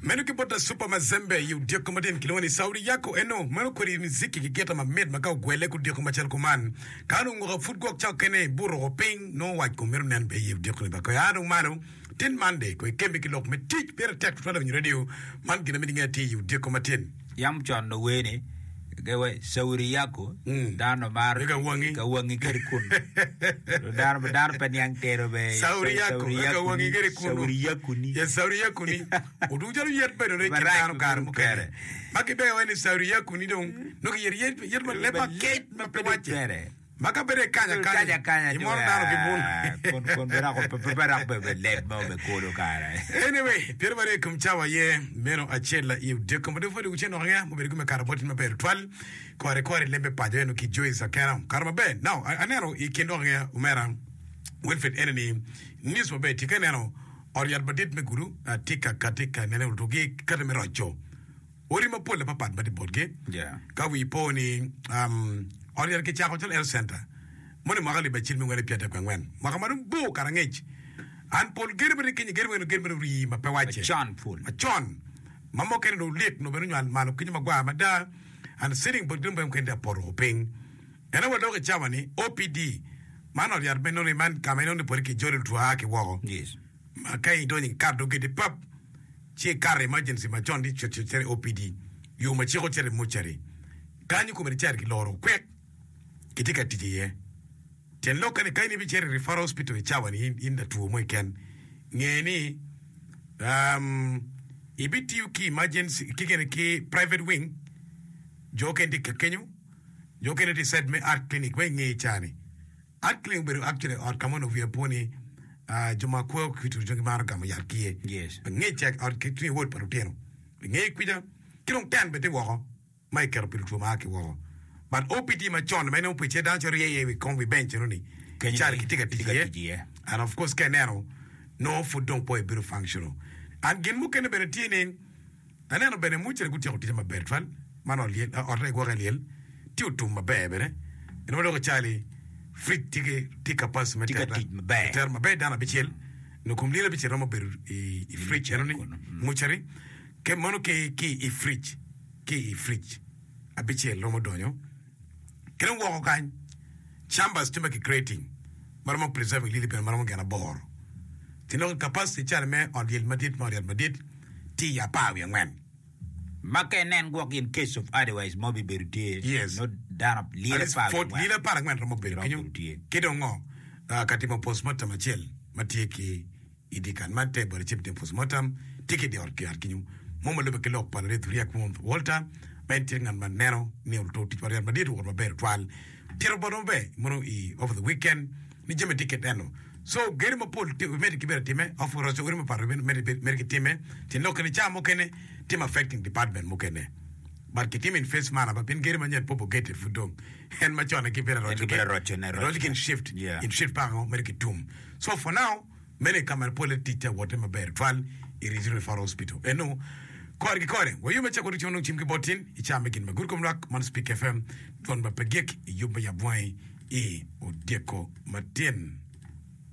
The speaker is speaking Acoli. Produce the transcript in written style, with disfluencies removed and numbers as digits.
Meno ki bot Asupa Mazembe i odyeko matin kilwongo ni Saudi Yako eno meno kodi miziki ki gita mamit ma ka ogwele ki odyeko macalo kuman ka onongo nguka pud gwok ca okene ibuto oko piny nongo wac kom mito nen be i odyeko ni ba koy aa dong malo tin Monday koy kemme ki lok me tic pire tek tutwal awinyo radio man gin ma mito inge atir i odyeko matin. Yam con ower ni, Saudi Yako, dano maro Eka wangi. ka wangi kede kunu. Dano, dano pe niang tero be. Saudi Yako, eka wangi kede kunu. Saudi Yako ni. Yes, Saudi Yako ni. Odugu calo yet bedo ne kin Marac dano kare bedo mukene. kere. Ma gibeyo en ni Saudi Yako ni dong nongo kiyero yet, yet ma leb makec ma pe wacce. Kere. Ma ka bedo ikanya Kanya kanya, kanya imoro dano ki bun. Kun kun be dok pe pe dok be be leb mo be kolo kare. Anyway, 20 kom cawa aye meno acel i odiko ma dong pwod gucen dok angeya mubedo ki me kato bot in maber tutwal. Kore kore lembe paco eno ki Joyce Akena. Kato maber. Now, a- aneno i kin dok angeya omera Wilfred ene ni news maber tye ka ineno ot yat madit me gudu ah, tye ka kati ka nene otugi kati me roco. Odi mapol apapat ma tye botgi. Ka wii po ni um, ot yat kicako calo health center moni mwaka alip acel me ngwen pyertek angwen mwaka ma dong bor kara angec an pol gedo ma tye kenyo gedo meno gedo meno rii ma pe wacce Macon pol. macon ma mukene dong olik nongo bene onywal malo kenyo magwar mada and sitting bot gedo mukene tye apoto piny ento wa dok i cawa ni OPD man ot yat me nongo ni man ka ma inongo ni pole kijolo lutwo a ki woko Yes. ma ka idonyo ikato dong gedi pap ci ikato i emergency macon ti cut cut cito i OPD yo ma ciko cito i mortuary kanyo kome ni cito kiloro kwek kitye ka tic iye tyen lokke ni ka in ibicito i referral hospital i cawa ni in latwo mo keken nge ni um, ibitiyo ki emergency ki gini ki private wing jo okene tye ka kenyo jo okene tye i side me art clinic ma inge ca ni Art clinic obedo actually ot ka ma onongo wiya po ni jo ma kwo ki two gimaro gamo yat ki iye. Yes. Ngec ca ot ki tye wod pa lutino. Nge kwica ki dong tent bene tye woko ma iketo pi lutwo ma a ki woko. But OPD macon ma inongo pe dano cito rye iye i wi kom wi bench eno ni Kenyo calo kitye ka tic kitye ka iye. tic iye. And of course ka ineno nongo pud dong pe obedo functional. And gin mukene bene tye ni Aneno bene mucere gutyeko ticce maber twal, man ot lyel, otte gwoke i lyel tye otum maber bene. En ma dok icali fridge tye ki tye capacity me Tye ka tero tic maber. tero maber dano abicel nyo kom lyel abicel romo bedo i i fridge eno ni mucere ke meno ki ki i fridge ki i fridge abicel romo donyo ki dong woko kany chambers tye ma ki creating ma romo preserving lyeli bene ma romo gin aboro ci nongo capacity calo me ot lyel madit me ot yat madit tye i 14. Ma ka inen gwok in case of otherwise mo bibedo tye Yes. nongo dano lyel At least 14 lyel 14 romo bedo Romo kenyo bedo tye. ki dong ngo Ah, ka timo postmortem acel ma tye ki i dye kan man te bote cim timo postmortem tye ki i dye ot ki ot kenyo mo ma lube ki lok pa Ladit Riek Walter ma en tye ngat ma neno ni oluto tic pa ryat madit owot maber tutwal tito botwa maber mono i over the weekend ni jami tye kit eno So gedo mapol medde ki bedo atime, of roco odi mapat medde ki time, tyen lok kene ca mukene timo affecting department mukene. But kitimo in phase manner ba pien gedo manyen pop ogete pud dong en macon aye kibedo aroco Kibedo arocone, roco ki in shift, Yeah. in shift paka ngo mere ki tum. So for now meno i kamera pole tic tye awote maber twal i Regional Referral Hospital. Eno kore ki kore wayo me cako ducu nongo cim ki bot tin i ca me gin ma gudo kom lwak man Speak FM dwon ma pe gik i yub me yab wangi i odyeko matin.